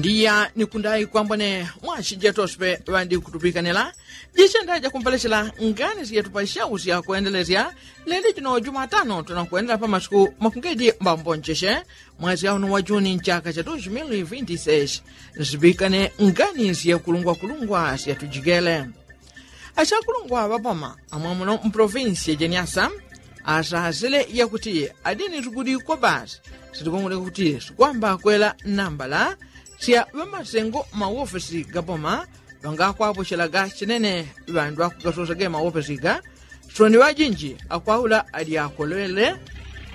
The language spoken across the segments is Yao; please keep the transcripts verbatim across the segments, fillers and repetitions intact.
Ndiya nikundayi kwambone mwashi jetoswe ŵandi kutupikanila. Jisenda jakumpalesela ngani syetu pa shau sya kwendelesya leli jino jumatano tunakwendela pa masiku makungedi mbambonjeshe mwezi auno wa juni nchaka cha dos mil vinti seis. Nsipikane ngani syekulungwakulungwa syatujikele. Achakulungwa ŵapoma amwamuno mpolofinsi ya jeniasa asasile yakuti adini sikulikwa basi sitikungule kuti sikwamba kwela nambala sya ŵamasengo mawofesi gapoma ŵangakwapochelaga chinene ŵandu akugasosage mawofesi ga soni ŵajinji akwaula adyakolele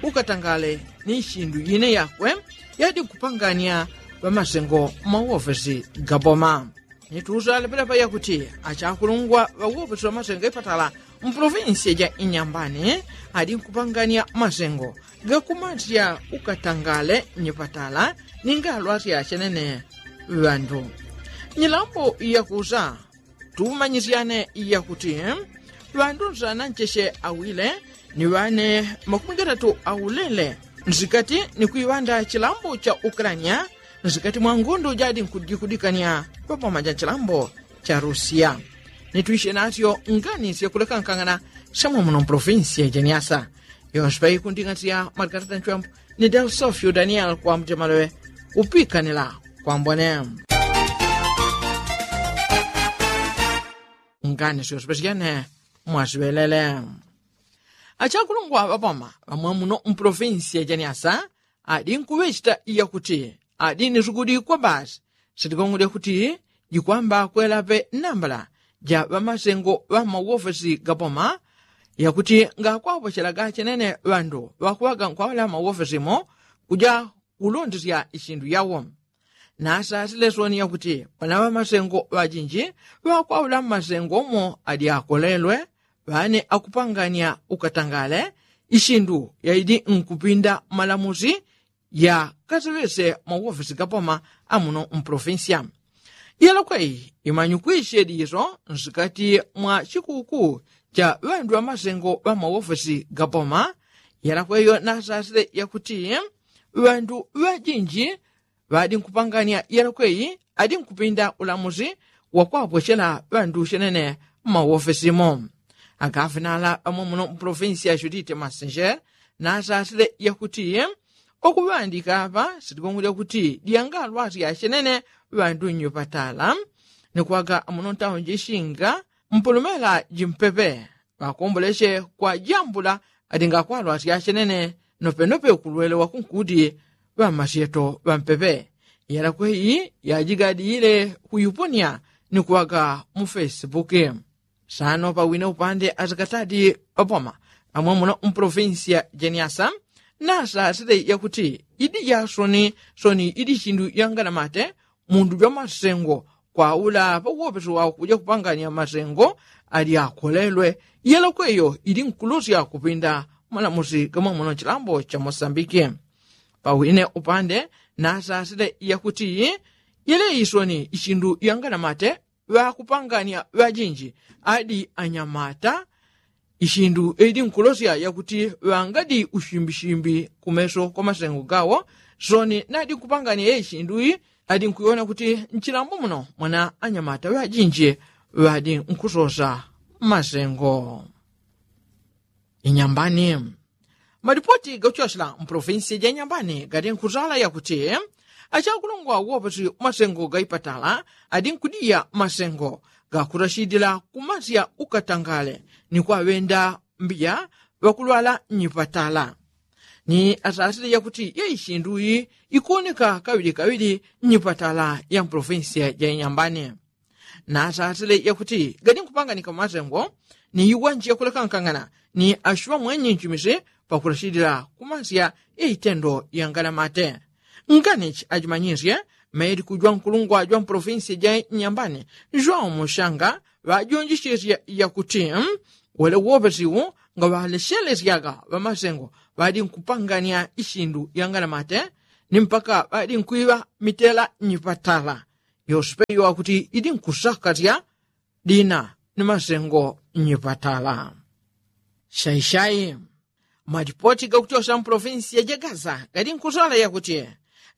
ukatangale ni shindu yine yakwe yadi kupangania ŵamasengo mawofesi gapoma. Nitusa lepelepa yakuti achakulungwa ŵawopesi ŵamasengo ipatala mpolofinsi ja inyambani adi nkupangania masengo gakumasya ukatangale nyipatala ninga alwasya chenene ŵandu. Nyilambo yakusa tumanyisyane yakuti ŵandu nsana ncheshe awile ni ŵane makumi gatatu aulele nsikati ni kwiŵanda chilambo cha ukrania nsikati mwa ngundu jadi nkujikudikania ŵapoma ja chilambo cha rusia. Nitwishe nasyo ngani syakulekankangana shamwa muno mpolofinsi ya jeniasa. Yonse paikunding'atisya malikatata nchwambo ni delsofio daniel kwa mujamalowe upikanila kwambone ngani syosopesya jene mwasiŵelele. Achakulungwa ŵapoma ŵamwe muno mpolofinsi ya jeniasa adi nkuŵechita yakuti adi ni sukudikwa basi sitikong'odya kuti jikwamba kwelape nambala ja ŵamasengo ŵa mawofesi gapoma yakuti ngakwapochelaga chenene ŵandu ŵakuŵaga nkwaula mawofesimo kuja kulondesya ishindu yawo. Nasasile soni yakuti ŵana ŵamasengo ŵajinji ŵakwaula mmasengo umo adyakolelwe ŵane akupangania ukatangale ishindu yaidi nkupinda malamusi ya kaseŵese mawofesi gapoma amuno mpolofinsiya. Yelokweyi imanyukwisye diso nsikati mwa chikuku cha ŵandu ŵamasengo ŵa mawofesi gapoma. Yelokweyo nasasile yakuti ŵandu ŵajinji ŵadi nkupangania yelokweyi adi nkupinda ulamusi wakwapwechela ŵandu chenene mmawofesimo. Agafinala ŵamwe muno mpolofinsiya judite masenjere nasasile yakuti okuŵandika apa sitikung'ulya kuti dyangalwasya chenene ŵandu nnyupatala ni kwaga muno ntaunji shinga mpolomela jimpepe ŵakomboleche kwa jambula adingakwalwasya chenene nopenope kulwele wakunkuti ŵamasyeto ŵampepe. Yelokweyi yajigadile kuyuponia ni kwaga mu fesibuki. Sano pawine upande asikatadi ŵapoma amwe muno mpolofinsiya jeniasa nasasile yakuti idi jasoni soni idi chindu yanganamate mundu jwamasengo kwaula pawopesi wakuja kupangania masengo adyakolelwe. Yelokweyo idi nkulosya kupinda malamusi gamwe muno chilambo cha mosambiki. Pawine upande nasasile yakuti yele isoni ichindu yanganamate ŵakupangania ŵajinji adi anyamata. Ishindu edi nkulosya yakuti ŵangadi ushimbishimbi kumeso kwa masengo gawo soni nadi nkupangania ye ishindu iyi adi nkuiwona kuti nchilambo muno mwana anyamata ŵajinji ŵadi nkusosa masengo. Inyambani. Malipoti gakuchosela mpolofinsi ja inyambani gadi nkuzala yakuti achakulungwa wopesi masengo gaipatala adi nkudiya masengo gakurashidila kumasya ukatangale ni kwaŵenda mbiya ŵakulwala nyipatala. Ni asasile yakuti ye ishindu iyi ikuwoneka kaŵilikaŵili nyipatala ya mpolofinsi ja inyambani. Nasasile yakuti gadi nkupanganika masengo ni iwanji yakulekankangana ni ashuŵa mwenyi nchimisi pakulashilila kumasya ya itendo yanganamate. Nganichi ajimanyisye maili kujwa nkulungwa jwa mpolofinsi ja nyambani jwa umushanga ŵajonjishisye yakuti wele wopesiwu ngaŵaleshelesyaga ŵamasengo ŵadi nkupangania ishindu yanganamate ni mpaka ŵadi nkwiŵa mitela nyipatala. Yospeyo akuti idi nkusakasya dina ni masengo nyipatala. Shaishai. Malipoti gakutyosya mpolofinsi ya jagaza gadi nkusala yakuti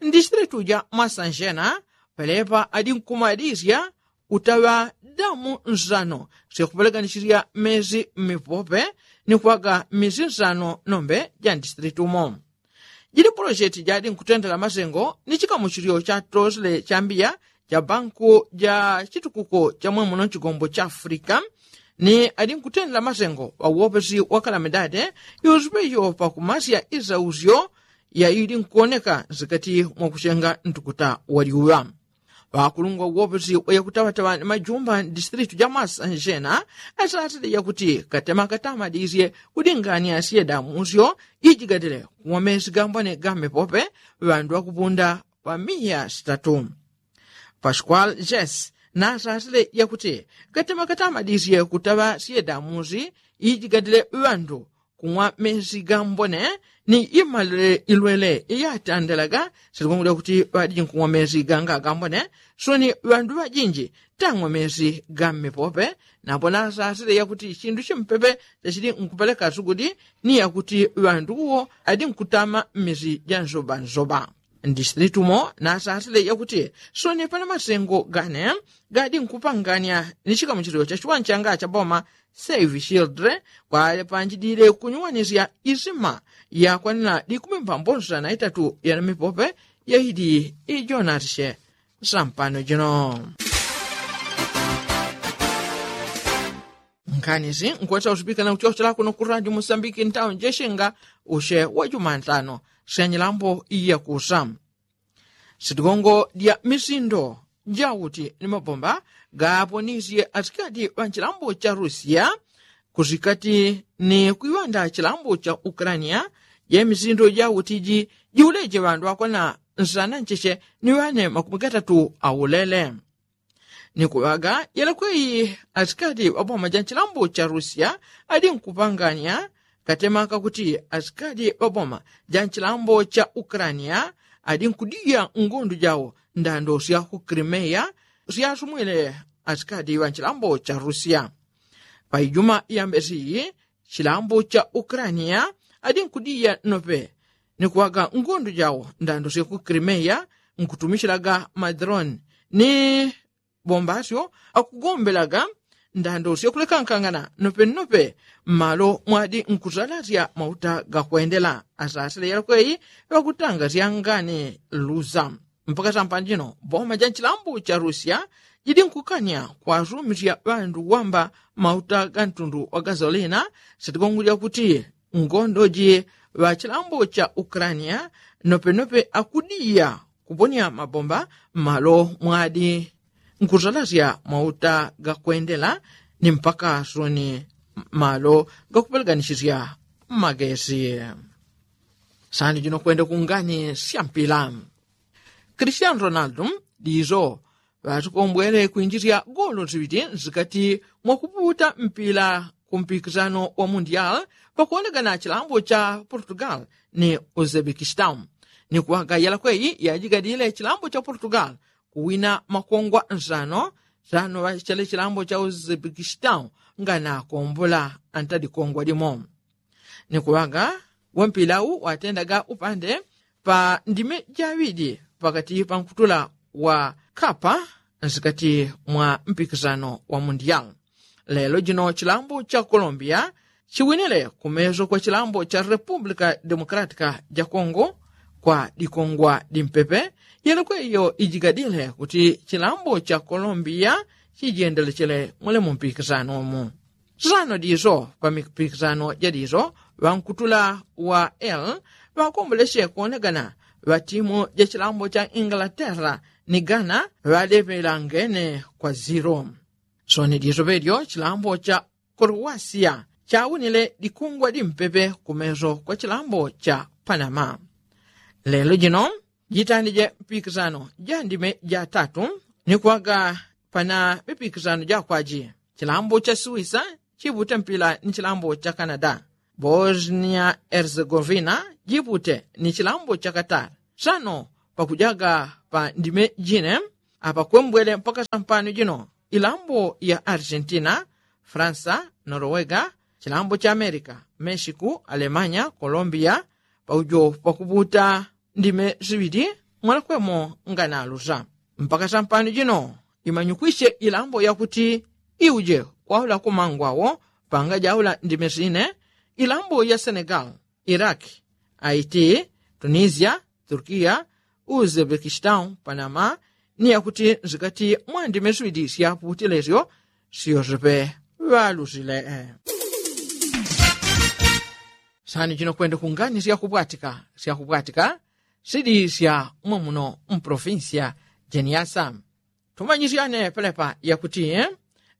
ndisitilitu ja masanjena pelepa adinkumadisya utaŵa damu nsano syakupeleganisisya mmezi mmipope ni kuŵaga mmezi nsano nombe ja mdistrikiti umo. Jili polosyeti jadinkutendela masengo ni chikamuchilyo chatosele chambiya cha banku ja chitukuko cha mwemuno nchigombo cha afulika ni adinkutendela masengo ŵauwopesi wa kalamidade yusupe iyo pakumasya isausyo yaidinkuwoneka nsikati mwakuchenga ntukuta waliuŵa. Ŵakulungwa uwopesi wa yakutaŵataŵa ni majumba mdistritu ja masanjena asasile yakuti katema katamadisye kudingania syedamusyo ijigadile kuwamesi gambone ga mmepope ŵandu ŵakupunda ŵamiya sitatu. Paskwal jes nasasile yakuti katema katamadisye kutaŵa syedamusi ijigadile ŵandu kung'wa mesi gambone ni imalile ilwele iyatandelaga silikungulya kuti ŵadiji nkung'wa mesi ganga gambone. Soni ŵandu ŵajinji tang'wa mesi ga mmepope napo nasasile yakuti chindu chimpepe chachili nkupeleka sugudi ni yakuti ŵandu uwo adinkutama mmesi ja nsobansoba. Mdistritu umo nasasile yakuti soni pana masengo gane gadinkupangania ni chikamuchilyo cha chiwani changa cha boma save childre kwalepanjidile kunyuwanisya isima yakwanila likumi mbambonsana itatu ya mipope yaidi ijonatisye sampano jino. Nkanisi nkwesa usipikana kuchosela kuno ku radio musambiki ntawo njeshenga ushe wa jumantano syanyilambo iyakusa. Sitigongo dya misindo jauti ni mabomba gaponisye asikati ŵa nchilambo cha rusiya kusikati ni kwiŵanda chilambo cha ukraniya. Ye misindo jauti ji jiuleje ŵandu ŵakwana nsana ncheche ni ŵane makumi gatatu aulele. Ni kuŵaga yelekweyi asikati ŵa boma ja nchilambo cha rusiya adinkupanganya katema kakuti asikati ŵa boma ja nchilambo cha ukraniya adinkudiya ngundu jawo ndando sya ku krimeya syasumwile asikati ŵa nchilambo cha rusiya. Paijuma yambesiyi chilambo cha ukraniya adinkudiya nope ni kuŵaga ngundu jawo ndando sya ku krimeya nkutumishilaga madroni ni bombasyo akugombelaga ndando syakulekankangana nopenope mmalo mwadi nkusalasya mauta gakwendela asasile yalakweyi ŵakutanga syangani lusa. Mpaka sampano jino boma ja nchilambo cha rusiya jidi nkukanya kwasumisya ŵandu wamba mauta ga ntundu wa gasolina. Sitigongo lyakuti ngondoji ŵa chilambo cha ukraniya nopenope akudiya kuponya mabomba mmalo mwadi nkusalasya mauta gakwendela ni mpaka soni mmalo gakupeleganisisya magesi. Sani jino kwenda kungani sya mpila. Kristiano ronaldo diso ŵasikombwele kwinjisya golo siŵiti nsikati mwakuputa mpila ku mpikisano wa mundial pakuwonekana chilambo cha portugal ni uzebekistan. Ni kuŵaga yalakweyi yajigadile chilambo cha portugal kuwina makongwa nsano sano ŵachele chilambo cha uzebekistan nganakombola antadi kongwa limo. Ni kuŵaga wampilau watendaga upande pa ndime jaŵidi pakati pa nkutula wa kapa nsikati mwa mpikisano wa mundial. Lelo jino chilambo cha kolombiya chiwinile kumeso kwa chilambo cha republika demokratika ja kongo kwa dikongwa dimpepe. Yelekwe iyo ijigadile kuti chilambo cha kolombiya chijendelechele mule mu mpikisano umu. Sano diso pa mipikisano ja diso ŵankutula wa l ŵakomboleche kuonekana ŵa timu ja chilambo cha ingalaterra ni gana ŵalepela ngene kwa ziro. Soni diso pedyo chilambo cha korowasia chawinile dikungwa dimpepe kumeso kwa chilambo cha panama. Lelo jino jitandije mpikisano ja ndime ja tatu ni kuŵaga pana mipikisano jakwaji. Chilambo cha suwisa chipute mpila ni chilambo cha kanada. Bosnia herzegovina jipute ni chilambo cha katari. Sano pakujaga pa ndime jine apakwembwele mpaka sampano jino ilambo ya argentina, fransa, norowega, chilambo cha amerika, mexiku, alemanya, kolombiya paujo pakuputa ndime siŵili mwalakwemo nganalusa. Mpaka sampano jino imanyukwisye ilambo yakuti iuje kwaula kumangwawo panga jaula ndime sine, ilambo ya senegal, iraki, aiti, tunisia, turkia, uzebekistan panama, ni yakuti nsikati mwa ndime swidi syaputile syo syosepe ŵalusile. Sani jino kwende kungani syakupwatika syakupwatika sidi sya mwamuno mpolofinsi ya jeniasa. Tumanyisyane pelepa yakuti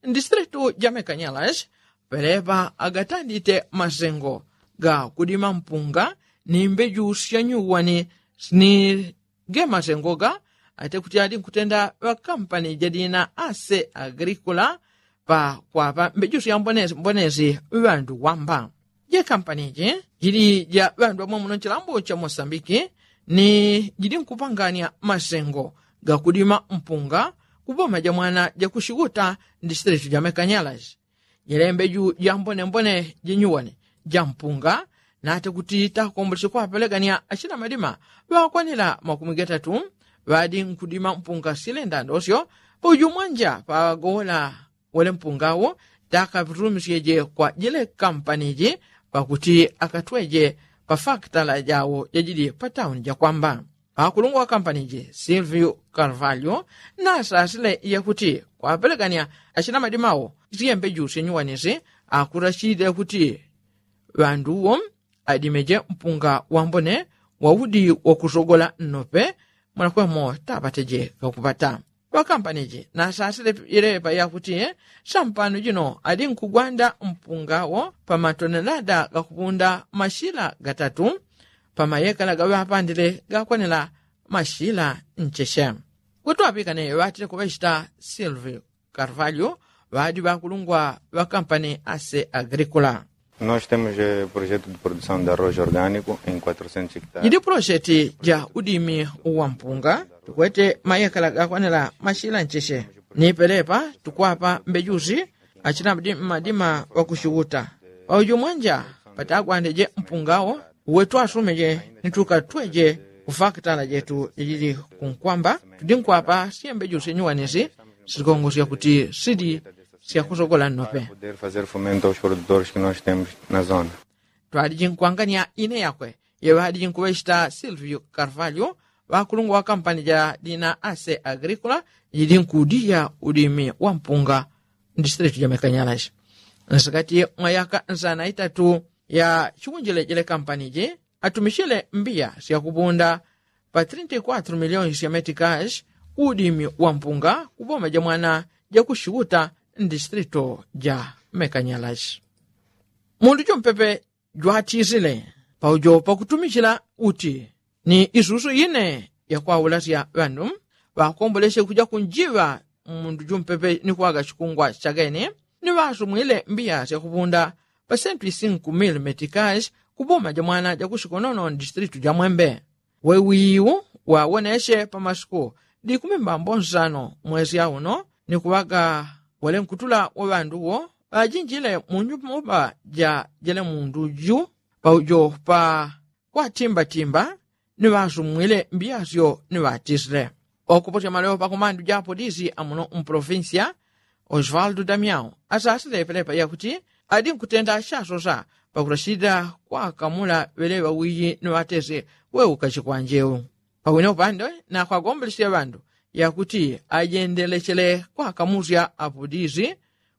ndisitilitu ja mekanyalashi pelepa agatandite masengo ga kudima mpunga ni mbeju syanyuwani sini ge masengo ga ate kuti adi nkutenda ŵakampani jadina ase agrikula pa kwapa mbeju syambonesi ŵandu wamba. Jekampani ji jili ja ŵandu ŵamwamuno nchilambo cha mosambiki ni jili nkupangania masengo gakudima mpunga kuboma ja mwana jakusikuta ndisitilitu ja mekanyalashi. Jelembe ju jambonembone jenyuwani ja mpunga nate kuti takomboleche kwapelegania achina madima ŵakwanila makumi gatatu ŵadi nkudima mpunga silenda ndosyo pauju mwanja pagowola wele mpunga wo takapitumisyeje kwa jile kampani ji pakuti akatweje pa fakitala jawo jajili pa tauni jakwamba. Pakulungwa wa kampani ji silviu kalvalyo nasasile yakuti kwapelegania achina madima wo siyembe jusi nyuwanisi akurashile kuti ŵandu wo adimeje mpunga wambone waudi wakusogola nnope. Mwanakwemo tapateje kakupata ŵakampani ji nasasile ilepa yakuti sampano jino adi nkugwanda mpunga wo pa matonelada gakupunda mashila gatatu pa mayekala gaŵapandile gakwanila mashila ncheche. Kuti ŵapikane ŵatile kuŵachita silviu karvalyo ŵadi ŵakulungwa ŵakampani ase agrikula. Nós temos projeto de produção de arroz orgânico em quatrocentos hectares. Jidi pulosheti ja udimi wa mpunga tukwete mayekala gakwanila mashila ncheche ni pelepa tukwapa mbejusi achina madima ŵakuchiuta pauju mwanja patagwandeje mpunga wo uwe twasumeje ni tukatweje kufakitala jetu jajili kunkwamba tudi nkwapa syembe jusi nyuwanisi sikongosya kuti sidi syakusogola nnope. Twadiji nkwangania ine yakwe yeŵadiji nkuŵechita silviu karvalyo ŵakulungwa wa kampani ja dina ase agrikula jidi nkudiya udimi wa mpunga mdisitilitu ja mekanyalashi. Nsikati mwa yaka nsana itatu ya chikunjile jele kampani ji atumichile mbiya syakupunda pa trinta y quatro miliyoni sya metikashi udimi wa mpunga kuboma ja mwana jakuchiuta mdisitilitu ja mekanyalashi. Mundu jumpepe jwatisile paujo pakutumichila uti ni isusu ine yakwaulasya ŵandu ŵakomboleche kuja kunjiŵa mundu jumpepe ni kwaga chikungwa chagene ni ŵasumwile mbiya syakupunda pa sentu isingu mili metikashi kuboma ja mwana jakuchikonono mdisitilitu ja mwembe. Wewiyu wawoneche pa masuku dikumi mbambo nsano mwesi auno ni kuŵaga wele nkutula wa ŵandu wo ŵajinjile mu nyumba ja jele mundu ju paujo pa kwatimbatimba ni ŵasumwile mbiyasyo ni ŵatisile. Okuposya malewo pakumandu ja apolisi amuno mpolofinsiya osvaldo damiao asasile pelepa yakuti adi nkutenda chasosa pakutasida kwakamula ŵeleŵa wiyi ni ŵatese weuka chikwanjeu. Pawine upande nakwagomboleche ŵandu yakuti ajendelechele kwakamusya apolisi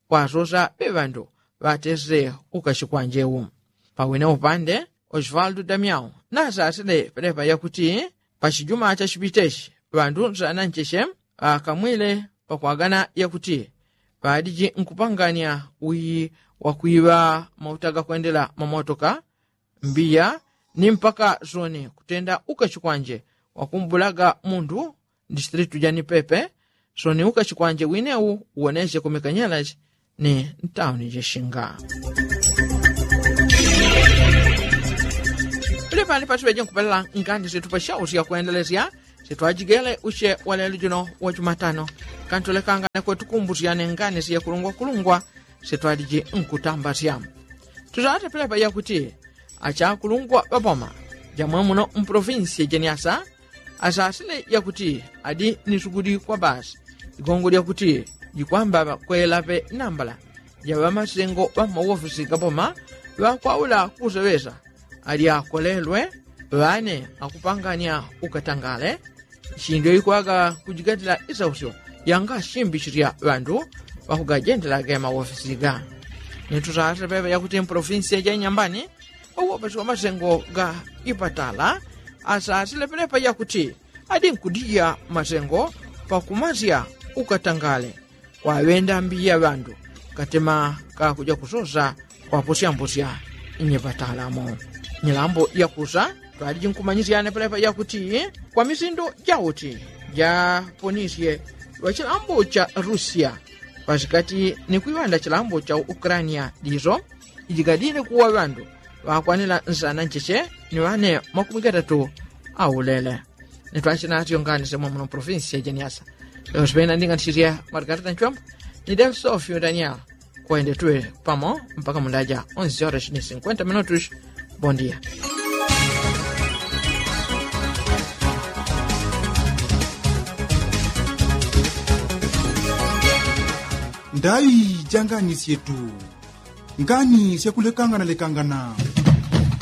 kwasosa ŵeŵandu ŵatese uka chikwanjeu. Pawine upande osvaldo damiao nasasile pelepa yakuti pachijuma chachipitechi ŵandu nsana ncheche ŵakamwile pakwagana yakuti ŵadiji nkupangania wiyi wakwiŵa mauta gakwendela mamotoka mbiya ni mpaka soni kutenda ukachikwanje wakumbulaga mundu mdisitilitu ja nipepe. Soni ukachikwanje winewu uwoneche kumikanyalachi ni ntauni jishinga. Pili pani patuŵeje nkupelela ngani situpa shausi yakwendelesya sitwajigele ushe walelo juno wajumatano. Kantulekangane kwetukumbusyane ngani siyakulungwakulungwa sitwaliji nkutambasya. Tutatepelepa yakuti achakulungwa ŵapoma jamwe muno mpolofinsi jeniasa Asasile yakuti adi ni sugudi kwa basi igongo lyakuti jikwamba kwelape nambala ya ŵamasengo ŵa mmawofisi ga boma ŵakwaula kuseŵesa ali akolelwe ŵane akupanganya ukatangale. Shindu yoikwaga kujigatila isausyo yanga shimbi shilya ŵandu ŵakugajendela ge mawofisi ga ni tusasile pepa yakuti mpolofinsi ya janyambani ŵawopesi wa masengo ga ipatala asasile pelepa yakuti adi nkudija masengo pakumasya ukatangale kwaŵenda mbiya ŵandu katema kakuja kusosa kwaposyambosya nyipatala mo. Nyilambo yakusa twaliji nkumanyisyane pelepa yakuti kwa misindo jauti japonisye ŵachilambo cha rusia pasikati ni kwiŵanda chilambo cha ukrania diso ijigadile kuwa ŵandu ŵakwanila nsana ncheche ni ŵane makumi gatatu aulele. Ni twachinatyo ngani semwa muno provinsi ya jeniasa. Leo sipena ndinganisisya margarita nchwambo ni del sofio daniel kwende tuŵe pamo mpaka mundaja onse horas ni sinkwenta minutus. Bondia. Ndai janganisyetu ngani syakulekangana lekangana.